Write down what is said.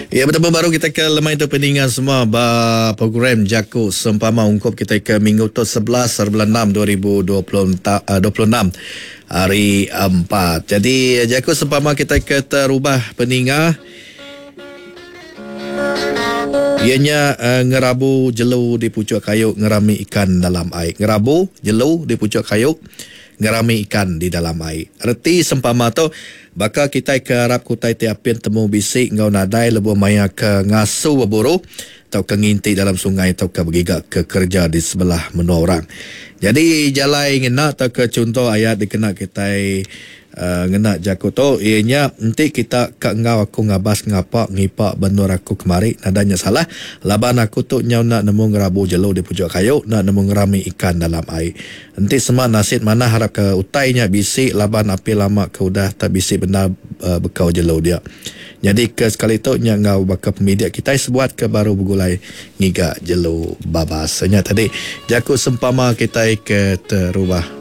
Ya betemu baru kita ke lemai tu peninga semua ba program Jaku Sempama ungkup kita ke minggu tu 11 hari bulan 6 2026 hari 4. Jadi jaku sempama kita ke terubah peninga iya nya uh, ngerabu jelu di pucuk kayu ngerami ikan dalam ai. Ngerabu jelu di pucuk kayu ngerami ikan di dalam ai. Reti sempama tu Baka kitai ke arap ke utai ti apin temu bisi enggau nadai lebuh maya ke ngasu beburu tauka nginti dalam sungai tauka begiga ke kereja di sebelah menua orang. Nyadi jalai ngena tauka chunto ayat dikena kitai ngena jaku tu iya nya enti kita ka enggau aku ngabas ngapa ngipa ba endur aku kemari nadai nya salah laban aku tu nyau enda nemu ngerabu jelu di puchuk kayu enda nemu ngerami ikan dalam ai. Enti sema nasit manah arap ke utai nya bisi laban api lama ke udah tak bisi bendar bekau jelu dia. Nyadi ke sekali tu nya enggau baka pemidik kitai sebuat ke baru begulai ngiga jelu babas. Nya tadi jaku sempama kitai ke terubah.